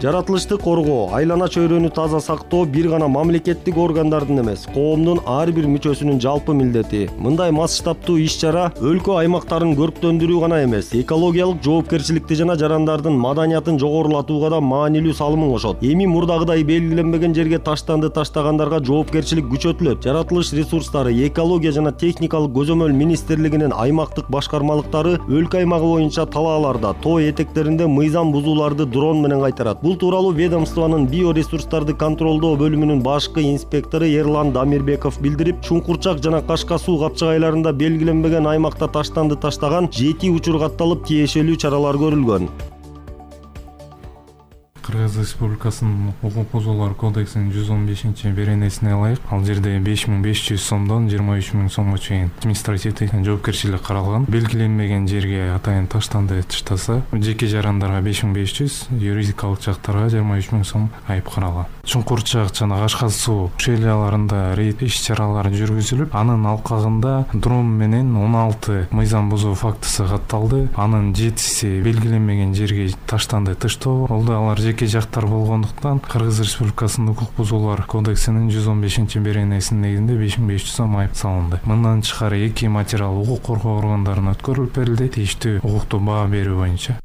Жаратылышты коргоо, айлана чөйрөнү таза сактоо бир гана мамлекеттик органдардын эмес, коомдун ар бир мүчөсүнүн жалпы милдети. Мындай масштабтуу иш-чара өлкө аймактарын көрктөндүрүү гана эмес, экологиялык жоопкерчиликти жана жарандардын маданиятын жогорулатууга да маанилүү салымын кошот. Эми мурдагыдай белгиленбеген жерге таштанды таштагандарга жоопкерчилик күчөтүлөт. Жаратылыш ресурстары, экология жана техникалык көзөмөл министрлигинин аймактык башкармалыктары өлкө аймагы боюнча талааларда, тоо этектеринде мыйзам бузууларды дрон менен кайтарат. Бул тууралуу ведомствонун биоресурстарды контролдоо бөлүмүнүн башкы инспектору Эрлан Дамирбеков билдирип, Чуңкурчак жана Кашка суу капчыгайларында белгиленбеген аймакта таштанды таштаган 7 учур катталып, тиешелүү чаралар көрүлгөн. Кыргыз Республикасынын укук бузуулар кодексинин 115-беренесине ылайык ал жерде 5500 сомдон 23 000 сомго чейин административдик жоопкерчилик каралган. Белгиленмеген жерге атайын таштанды таштаса жеке жарандарга 5500, юридикалык жактарга 23 000 сом айып каралган. Чуңкурчак жана Кашкар суу шейляларында рейд иш-чаралары жүргүзүлүп, анын алкагында дрон менен 16 мыйзам бузуу фактысы катталды. Анын 7си белгиленмеген жерге таштанды тыштоо болду. Алар жеке жактар болгондуктан Кыргыз Республикасынын укук бузуулар кодексинин 115-беренесинин негизинде 5500 сом айып салынды. Мындан тышкары 2 материал укук коргоо органдарына өткөрүлүп берилди, тийиштүү укуктуу баа берүү боюнча.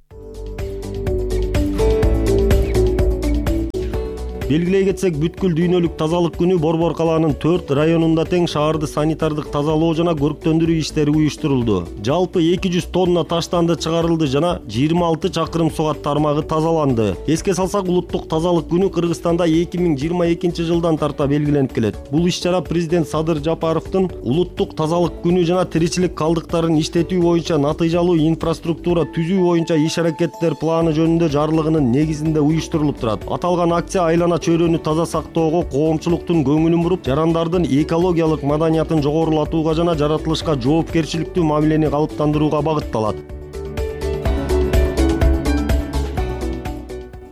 Белгилей кетсек, бүткүл дүйнөлүк тазалык күнү Борбор калаанын 4 районунда тең шаарды санитардык тазалоо жана көрктөндүрүү иштери уюштурулду. Жалпы 200 тонна таштанды чыгарылды жана 26 чакырым сугат тармагы тазаланды. Эске салсак, улуттук тазалык күнү Кыргызстанда 2022 жылдан тарта белгиленип келет. Бул иш-чара президент Садыр Жапаровдун улуттук тазалык күнү жана тиричилик калдыктарын иштетүү боюнча натыйжалуу инфраструктура түзүү боюнча иш-аракеттер планы жөнүндө жарлыгынын негизинде уюштурулуп турат. Аталган акция айлана чөйрөнү таза сактоого, коомчулуктун көңүлүн буруп, жарандардын экологиялык маданиятын жогорулатууга жана жаратылышка жоопкерчиликтүү мамилени калыптандырууга багытталат.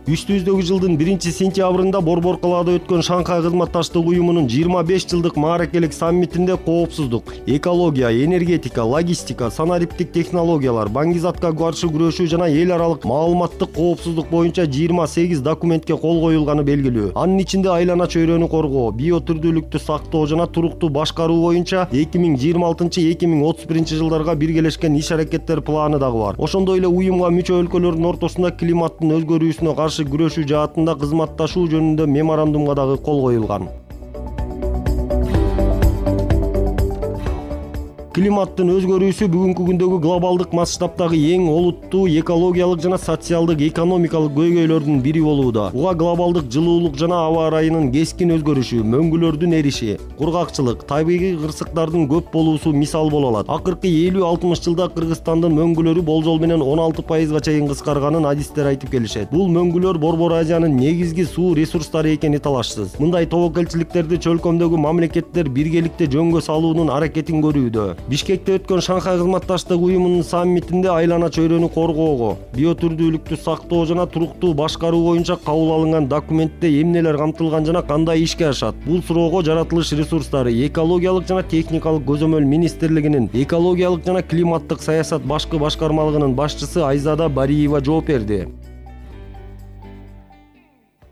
Үстүбүздөгү жылдын 1-сентябрында Борбор калаада өткөн Шанхай кызматташтык уюмунун 25 жылдык мааракелик саммитинде коопсуздук, экология, энергетика, логистика, санариптик технологиялар, баңгизатка каршы күрөшүү жана эл аралык маалыматтык коопсуздук боюнча 28 документке кол коюлганы белгилүү. Анын ичинде айлана чөйрөнү коргоо, биотүрдүүлүктү сактоо жана туруктуу башкаруу боюнча 2026-2031 жылдарга биргелешкен иш-аракеттер планы дагы бар. Ошондой эле уюмга мүчө өлкөлөрдүн ортосунда климаттын өзгөрүүсүнө каршы күрөшүү жаатында кызматташуу жөнүндө меморандумга дагы кол коюлган. Климаттын өзгөрүүсү бүгүнкү күндөгү глобалдык масштабтагы эң олуттуу экологиялык жана социалдык экономикалык көйгөйлөрдүн бири болууда. Буга глобалдык жылуулук жана аба ырайынын кескин өзгөрүшү, мөңгүлөрдүн эриши, кургакчылык, табигый кырсыктардын көп болуусу мисал боло алат. Акыркы 50-60 жылда Кыргызстандын мөңгүлөрү болжол менен 16%га чейин кыскарганын адистер айтып келишет. Бул мөңгүлөр Борбор Азиянын негизги суу ресурстары экени талашсыз. Мындай тобокелчиликтерди чөлкөмдөгү мамлекеттер биргеликте жөнгө салуунун аракетин көрүүдө. Бишкекте өткөн Шанхай кызматташтык уюмунун саммитинде айлана чөйрөнү коргоого, биотүрдүүлүктү сактоо жана туруктуу башкаруу боюнча кабыл алынган документте эмнелер камтылган жана кандай ишке ашат? Бул суроого Жаратылыш ресурстары, экологиялык жана техникалык көзөмөл министрлигинин экологиялык жана климаттык саясат башкы башкармалыгынын башчысы Айзада Бариева жооп берди.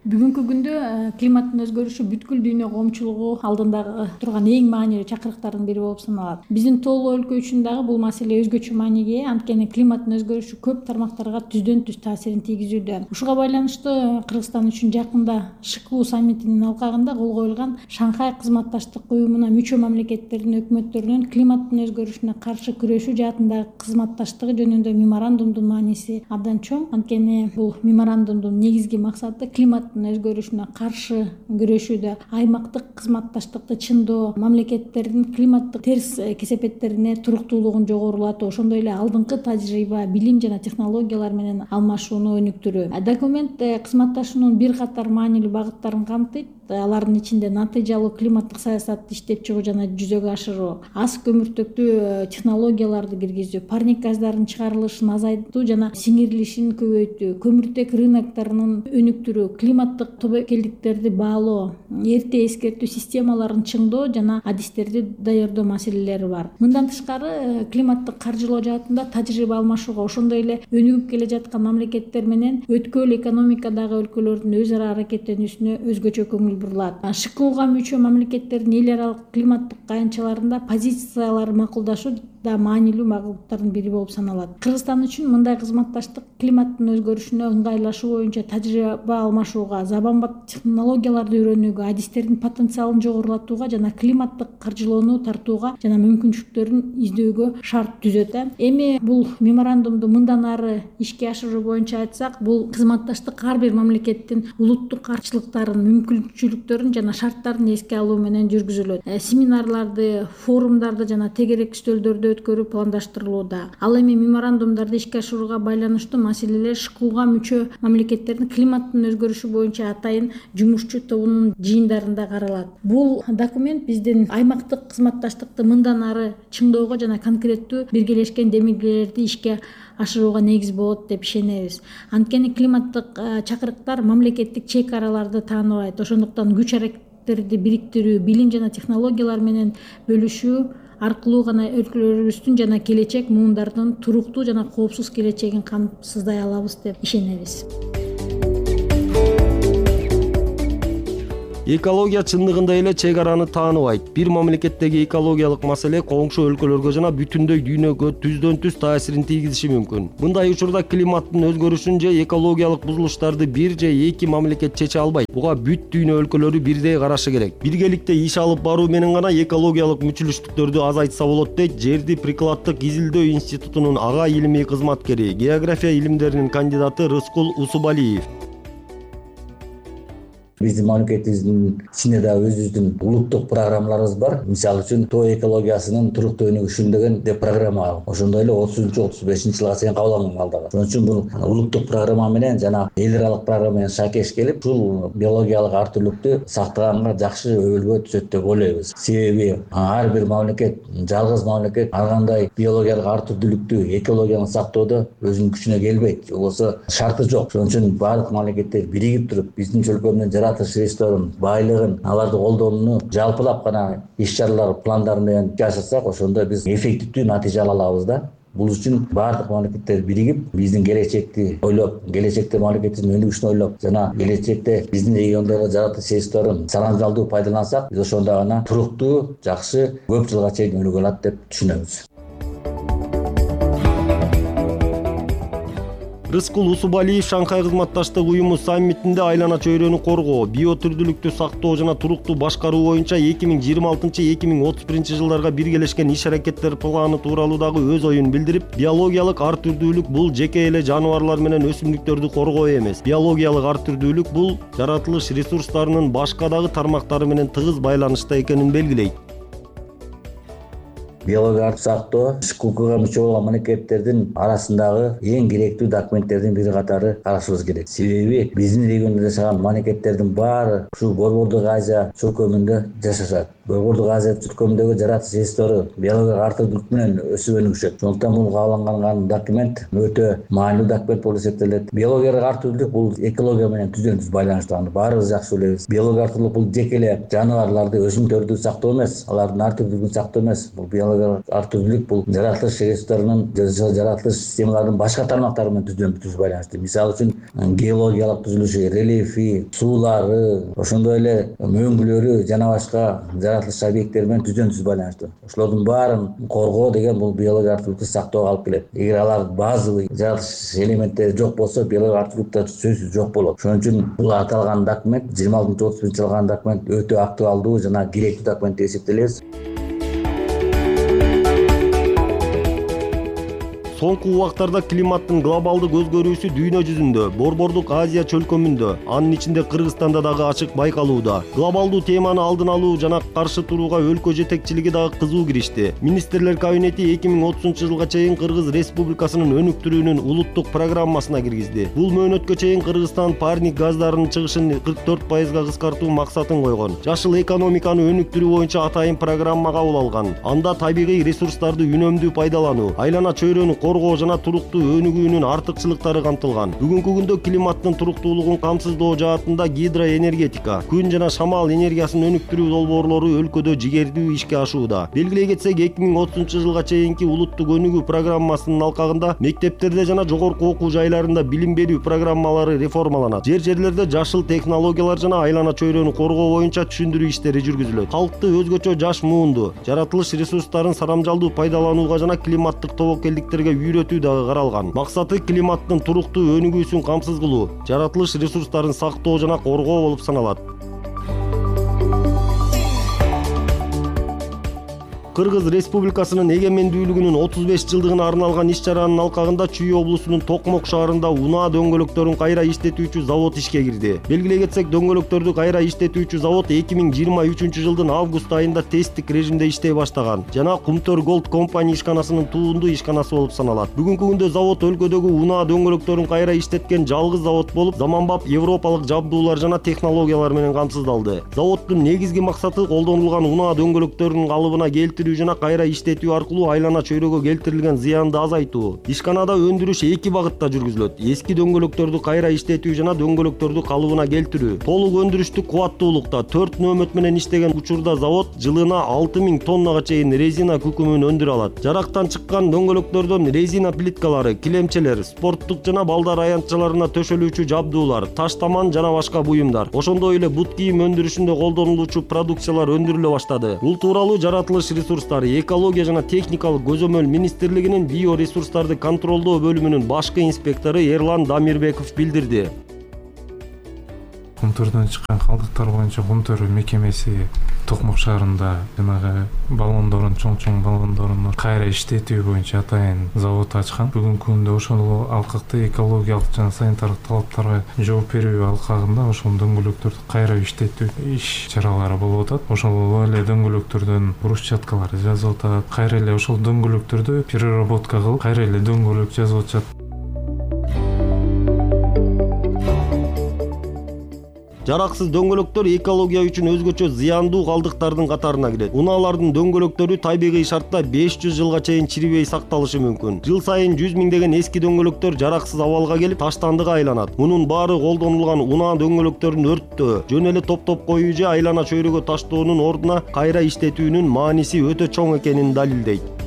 Бүгүнкү күндө климаттын өзгөрүшү бүткүл дүйнө коомчулугу алдында турган эң маанилүү чакырыктардын бири болуп саналат. Биздин тоолуу өлкө үчүн дагы бул маселе өзгөчө мааниге ээ, анткени климаттын өзгөрүшү көп тармактарга түздөн түз таасирин тийгизүүдө. Ушуга байланыштуу Кыргызстан үчүн жакында ШКУ саммитинин алкагында кол коюлган Шанхай кызматташтык уюмуна мүчө мамлекеттердин өкмөттөрүнүн климаттын өзгөрүшүнө каршы күрөшүү жаатындагы кызматташтыгы жөнүндө меморандумдун мааниси абдан чоң. Анткени бул меморандумдун негизги максаты климат өзгөрүшүнө каршы күрөшүүдө аймактык кызматташтыкты чындоо, мамлекеттердин климаттык терс кесепеттерине туруктуулугун жогорулатуу, ошондой эле алдыңкы тажрыйба, билим жана технологиялар менен алмашууну өнүктүрүү. Документ кызматташуунун бир катар маанилүү багыттарын камтыйт. Алардын ичинде натыйжалуу климаттык саясатты иштеп чыгуу жана жүзөгө ашыруу, аз көмүртөктүү технологияларды киргизүү, парник газдарын чыгарылышын азайтуу жана сиңирилишин көбөйтүү, көмүртек рыноктарынын өнүктүрүү, климаттык тобокелдиктерди баалоо, эрте эскертүү системаларын чыңдоо жана адистерди даярдоо маселелери бар. Мындан тышкары климаттык каржылоо жаатында тажрыйба алмашууга, ошондой эле өнүгүп келе жаткан мамлекеттер менен өткөл экономикадагы өлкөлөрдүн өз ара аракеттенүүсүнө өзгөчө көңүл бурулат. ШКУга мүчө мамлекеттердин эл аралык климаттык аянтчаларында позициялары макулдашуу да маанилүү багыттардын бири болуп саналат. Кыргызстан үчүн мындай кызматташтык климаттын өзгөрүшүнө ыңгайлашуу боюнча тажрыйба алмашууга, заманбап технологияларды үйрөнүүгө, адистердин потенциалын жогорулатууга жана климаттык каржылоону тартууга жана мүмкүнчүлүктөрүн издөөгө шарт түзөт. Эми бул меморандумду мындан ары ишке ашыруу боюнча айтсак, бул кызматташтык ар бир мамлекеттин улуттук каршылыктарын, мүмкүнчүлүктөрүн мүмкүнчүлүктөрүн жана шарттарын эске алуу менен жүргүзүлөт. Семинарларды, форумдарды жана тегерек стөлдөрдү өткөрүү пландаштырылууда. Ал эми меморандумдарды ишке ашырууга байланыштуу маселелер ШКУга мүчө мамлекеттердин климаттын өзгөрүшү боюнча атайын жумушчу тобунун жыйындарында каралат. Бул документ биздин аймактык кызматташтыкты мындан ары чыңдоого жана конкреттүү биргелешкен демилгелерди ишке ашырууга негиз болот деп ишенебиз. Анткени климаттык чакырыктар мамлекеттик чек араларды тааныбайт. Ошондуктан күч аракеттерди бириктирүү, билим жана технологиялар менен бөлүшүү аркылуу гана өлкөлөрүбүздүн жана келечек муундардын туруктуу жана коопсуз келечегин камсыздай алабыз деп ишенебиз. Экология чындыгында эле чек араны тааныбайт. Бир мамлекеттеги экологиялык маселе коңшу өлкөлөргө жана бүтүндөй дүйнөгө түздөн түз таасирин тийгизиши мүмкүн. Мындай учурда климаттын өзгөрүшүн же экологиялык бузулуштарды бир же эки мамлекет чече албайт. Буга бүт дүйнө өлкөлөрү бирдей карашы керек. Биргеликте иш алып баруу менен гана экологиялык мүчүлүштүктөрдү азайтса болот дейт Жерди прикладдык изилдөө институтунун ага илимий кызматкери, география илимдеринин кандидаты Рыскул Усубалиев. Биздин мамлекетибиздин ичинде да өзүбүздүн улуттук программаларыбыз бар. Мисалы үчүн тоо экологиясынын туруктуу өнүгүшүн деген деп программа. Ошондой эле 30-35 жылга чейин кабыл алынган алда. Ошон үчүн бул улуттук программа менен жана эл аралык программа менен шакеш келип, ушул биологиялык ар түрлүктү сактаганга жакшы өбөлгө түшөт деп ойлойбуз. Себеби ар бир мамлекет, жалгыз мамлекет ар кандай биологиялык ар түрдүүлүктү, экологияны сактоодо өзүнүн күчүнө келбейт. Болбосо шарты жок. Ошон үчүн баардык мамлекеттер биригип туруп, биздин өлкөмдүн жаратылыш ресурстарын, байлыгын, аларды колдонууну жалпылап гана иш-чаралар пландары менен ишке ашырсак, ошондо биз эффективдүү натыйжа ала алабыз да. Бул үчүн баардык мамлекеттер биригип, биздин келечекти ойлоп, келечекте мамлекетибиздин өнүгүшүн ойлоп, жана келечекте биздин региондогу жаратылыш ресурстарын санамжалдуу пайдалансак, биз ошондо гана туруктуу, жакшы, көп жылга чейин өнүгө алат деп түшүнөбүз. Рыскул Усубалиев Шанхай кызматташтык уюму саммитинде айлана чөйрөнү коргоо, биотүрдүүлүктү сактоо жана туруктуу башкаруу боюнча 2026-2031 жылдарга биргелешкен иш-аракеттер планы тууралуу дагы өз оюн билдирип, биологиялык ар түрдүүлүк бул жеке эле жаныбарлар менен өсүмдүктөрдү коргоо эмес. Биологиялык ар түрдүүлүк бул жаратылыш ресурстарынын башка дагы тармактары менен тыгыз байланышта экенин белгилейт. Биологиялык сактоо ШКУга мүчө болгон мамлекеттердин арасындагы эң керектүү документтердин бири катары карашыбыз керек. Себеби биздин региондо жашаган мамлекеттердин баары ушул Борбордук Азия чөлкөмүндө жашашат. Борбордук Азия чөлкөмүндөгү жаратылыш ресурстары биологиялык ар түрдүүлүк менен өсүп өнүгүшөт. Ошондуктан бул кабыл алынган документ өтө маанилүү документ болуп эсептелет. Биологиялык ар түрдүүлүк бул экология менен түздөн түз байланыштуу. Баарыбыз жакшы билебиз. Биологиялык ар түрдүүлүк бул жеке эле жаныбарларды, өсүмдүктөрдү сактоо эмес, алардын ар түрдүүлүгүн сактоо эмес. Бул ар түрдүүлүк бул жаратылыш ресурстарынын, жаратылыш системаларынын башка тармактары менен түздөн түз байланыштуу. Мисалы үчүн геологиялык түзүлүшү, рельефи, суулары, ошондой эле мөңгүлөрү жана башка жаратылыш объекттери менен түздөн түз байланыштуу. Ошолордун баарын коргоо деген бул биологиялык ар түрдүүлүктү сактоого алып келет. Эгер алар базовый жаратылыш элементтери жок болсо, биологиялык ар түрдүүлүк сөзсүз жок болот. Ошон үчүн бул аталган документ 26-31 жылган документ өтө актуалдуу жана керектүү документ деп эсептелет. Соңку убактарда климаттын глобалдык өзгөрүүсү дүйнө жүзүндө, Борбордук Азия чөлкөмүндө, анын ичинде Кыргызстанда дагы ачык байкалууда. Глобалдуу теманы алдын алуу жана каршы турууга өлкө жетекчилиги дагы кызуу киришти. Министрлер кабинети 2030 жылга чейин Кыргыз Республикасынын өнүктүрүүнүн улуттук программасына киргизди. Бул мөөнөткө чейин Кыргызстан парник газдарынын чыгышын 44% кыскартуу максатын койгон. Жашыл экономиканы өнүктүрүү боюнча атайын программа кабыл алган. Анда табигый ресурстарды үнөмдүү пайдалануу, айлана чөйрөнү коргоо жана туруктуу өнүгүүнүн артыкчылыктары камтылган. Бүгүнкү күндө климаттын туруктуулугун камсыздоо жаатында гидроэнергетика, күн жана шамал энергиясын өнүктүрүү долбоорлору өлкөдө жигердүү ишке ашууда. Белгилей кетсек, 2030 жылга чейинки улуттук өнүгүү программасынын алкагында мектептерде жана жогорку окуу жайларында билим берүү программалары реформаланат. Жерлерде жашыл технологиялар жана айлана чөйрөнү коргоо боюнча түшүндүрүү иштери жүргүзүлөт. Калкты өзгөчө жаш муунду, жаратылыш ресурстарын сарамжалдуу пайдаланууга жана климаттык тобокелдиктерге үйрөтүү дагы каралган. Максаты климаттын туруктуу өнүгүүсүн камсыз кылуу, жаратылыш ресурстарын сактоо жана коргоо болуп саналат. Кыргыз Республикасынын эгемендүүлүгүнүн 35 жылдыгына арналган иш-чаранын алкагында Чүй облусунун Токмок шаарында унаа дөңгөлөктөрүн кайра иштетүүчү завод ишке кирди. Белгилей кетсек, дөңгөлөктөрдү кайра иштетүүчү завод 2023 жылдын август айында тесттик режимде иштей баштаган жана Кумтөр Gold компания ишканасынын туунду ишканасы болуп саналат. Бүгүнкү күндө завод өлкөдөгү унаа дөңгөлөктөрүн кайра иштеткен жалгыз завод болуп, заманбап европалык жабдуулар жана технологиялар менен камсыздалды. Заводдун негизги максаты колдонулган унаа дөңгөлөктөрүнүн калыбына келтирүү жана кайра иштетүү аркылуу айлана чөйрөгө келтирилген зыянды азайтуу. Ишканада өндүрүш эки багытта жүргүзүлөт: эски дөңгөлөктөрдү кайра иштетүү жана дөңгөлөктөрдү калыбына келтирүү. Толук өндүрүштүк кубаттуулукта 4 нөөмөт менен иштеген учурда завод жылына 6000 тоннага чейин резина күкүмүн өндүрө алат. Жарактан чыккан дөңгөлөктөрдөн резина плиткалары, килемчелер, спорттук жана балдар аянтчаларына төшөлүүчү жабдуулар, таштаман жана башка буюмдар, ошондой эле бут кийим өндүрүшүндө колдонулуучу продукциялар өндүрүлө баштады. Бул тууралуу Жаратылыш ресурстары, экология жана техникалык көзөмөл министрлигинин биоресурстарды контролдоо бөлүмүнүн башкы инспектору Эрлан Дамирбеков билдирди. Кумтөрдөн чыккан калдыктар боюнча Кумтөр мекемеси Токмок шаарында жанагы баллондорун, чоң баллондорун кайра иштетүү боюнча атайын завод ачкан. Бүгүнкү күндө ошол алкакты экологиялык жана санитардык талаптарга жооп берүү алкагында ошол дөңгөлөктөрдү кайра иштетүү иш-чаралары болуп атат. Ошол эле дөңгөлөктөрдөн брусчаткалар жасап атат. Кайра эле ошол дөңгөлөктөрдү переработка кылып, кайра эле дөңгөлөк жасап атышат. Жараксыз дөңгөлөктөр экология үчүн өзгөчө зыяндуу калдыктардын катарына кирет. Унаалардын дөңгөлөктөрү табигый шартта 500 жылга чейин чирибей сакталышы мүмкүн. Жыл сайын 100 миңдеген эски дөңгөлөктөр жараксыз абалга келип, таштандыга айланат. Мунун баары колдонулган унаа дөңгөлөктөрүн өрттөө, жөн эле топтоп коюу же айлана чөйрөгө таштоонун ордуна кайра иштетүүнүн мааниси өтө чоң экенин далилдейт.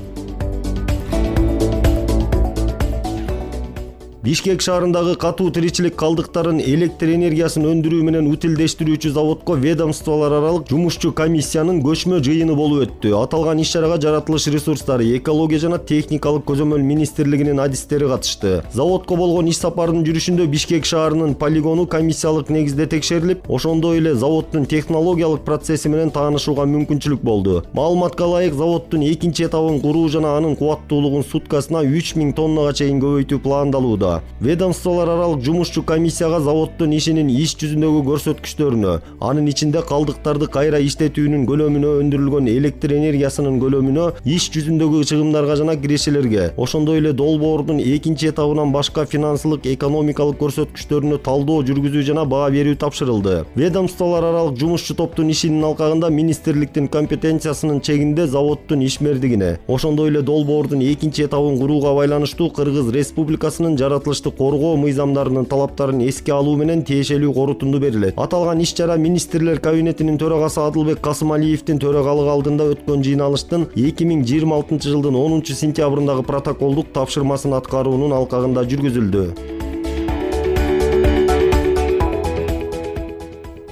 Бишкек шаарындагы катуу тиричилик калдыктарын электр энергиясын өндүрүү менен утилдештирүүчү заводко ведомстволор аралык жумушчу комиссиянын көчмө жыйыны болуп өттү. Аталган иш-чарага Жаратылыш ресурстары, экология жана техникалык көзөмөл министрлигинин адистери катышты. Заводко болгон иш сапардын жүрүшүндө Бишкек шаарынын полигону комиссиялык негизде текшерилип, ошондой эле заводдун технологиялык процесси менен таанышууга мүмкүнчүлүк болду. Маалыматка ылайык, заводдун экинчи этабын куруу жана анын кубаттуулугун суткасына 3000 тоннага чейин көбөйтүү пландалууда. Ведомстволор аралык жумушчу комиссияга заводдун ишинин иш жүзүндөгү көрсөткүчтөрүнө, анын ичинде калдыктарды кайра иштетүүнүн көлөмүнө, өндүрүлгөн электр энергиясынын көлөмүнө, иш жүзүндөгү чыгымдарга жана кирешелерге, ошондой эле долбоордун экинчи этабынан башка финансылык, экономикалык көрсөткүчтөрүнө талдоо жүргүзүү жана баа берүү тапшырылды. Ведомстволор аралык жумушчу топтун ишинин алкагында министрликтин компетенциясынын чегинде заводдун ишмердигине, ошондой эле долбоордун экинчи этабын курууга байланыштуу Кыргыз Республикасынын жаратылышты коргоо мыйзамдарынын талаптарын эске алуу менен тиешелүү корутунду берилет. Аталган иш-чара министрлер кабинетинин төрагасы Адылбек Касымалиевдин төрагалыгы алдында өткөн жыйналыштын 2026 жылдын 10 сентябрындагы протоколдук тапшырмасын аткаруунун алкагында жүргүзүлдү.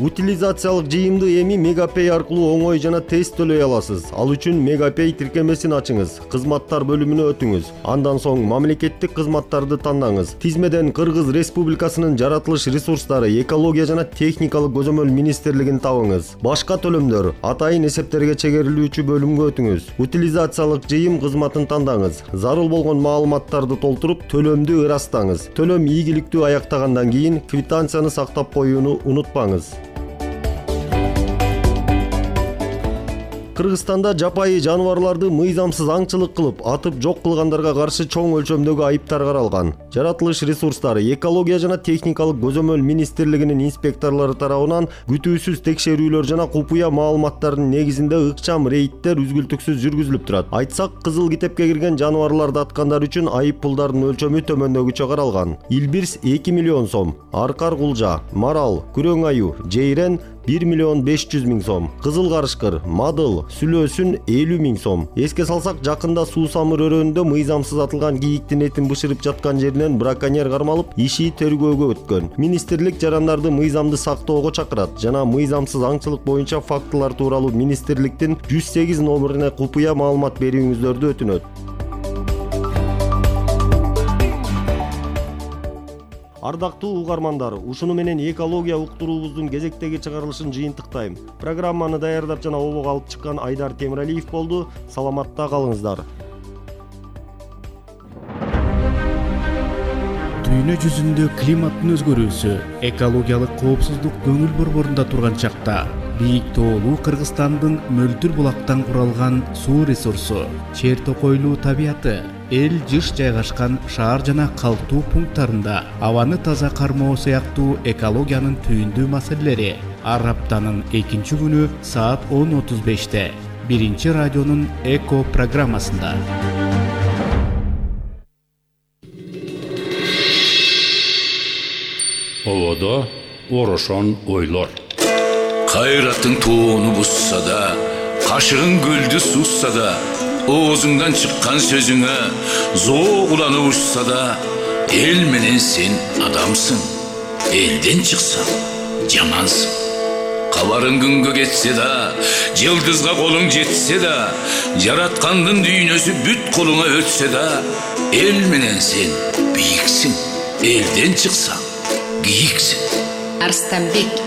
Утилизациялык жыйымды эми Мегапay аркылуу оңой жана тез төлөй аласыз. Ал үчүн Мегапay тиркемесин ачыңыз, кызматтар бөлүмүнө өтүңүз. Андан соң мамлекеттик кызматтарды тандаңыз. Тизмеден Кыргыз Республикасынын Жаратылыш ресурстары, экология жана техникалык көзөмөл министрлигин табыңыз. Башка төлөмдөр атайын эсептерге чегерилүүчү бөлүмгө өтүңүз. Утилизациялык жыйым кызматын тандаңыз. Зарыл болгон маалыматтарды толтуруп, төлөмдү ырастаңыз. Төлөм ийгиликтүү аяктагандан кийин квитанцияны сактап коюуну унутпаңыз. Кыргызстанда жапайы жаныбарларды мыйзамсыз аңчылык кылып, атып жок кылгандарга каршы чоң өлчөмдөгү айыптар каралган. Жаратылыш ресурстары, экология жана техникалык көзөмөл министрлигинин инспекторлору тарабынан күтүүсүз текшерүүлөр жана купуя маалыматтардын негизинде ыкчам рейдтер үзгүлтүксүз жүргүзүлүп турат. Айтсак, кызыл китепке кирген жаныбарларды аткандар үчүн айып пулдардын өлчөмү төмөндөгүчө каралган. Илбирс 2 миллион сом, аркар кулжа, марал, күрөң аю, жейрен 1 миллион 500 миң сом, кызыл карышкыр, мадыл, сүлөөсүн 50 миң сом. Эске салсак, жакында Суусамыр өрөөнүндө мыйзамсыз атылган кийиктин этин бышырып жаткан жеринен браконьер кармалып, иши тергөөгө өткөн. Министрлик жарандарды мыйзамды сактоого чакырат жана мыйзамсыз аңчылык боюнча фактылар тууралуу министрликтин 108 номерине купуя маалымат берүүңүздөрдү өтүнөт. Ардактуу угармандар, ушуну менен экология уктуруубуздун кезектеги чыгарылышын жыйынтыктайм. Программаны даярдап жана обого алып чыккан Айдар Темиралиев болду. Саламатта калыңыздар. Дүйнө жүзүндө климаттын өзгөрүүсү, экологиялык коопсуздук көңүл борборунда турган чакта бийик тоолуу Кыргызстандын мөлтүр булактан куралган суу ресурсу, чер токойлуу табияты, эл жыш жайгашкан шаар жана калктуу пункттарында абаны таза кармоо сыяктуу экологиянын түйүндүү маселелери ар аптанын 2 күнү саат 10:35-те биринчи радионун Эко программасында. Ободо орошон ойлор. Кайраттың тоону бусса да, кашыгың гүлдү сусса да, оозуңдан чыккан сөзүңө зоо уланып учса да, эл менен сен адамсың. Элден чыксаң жамансың. Кабарың күнгө кетсе да, жылдызга колуң жетсе да, жараткандын дүйнөсү бүт колуңа өтсө да, эл менен сен бийиксиң. Элден чыксаң кийиксиң. Арстанбек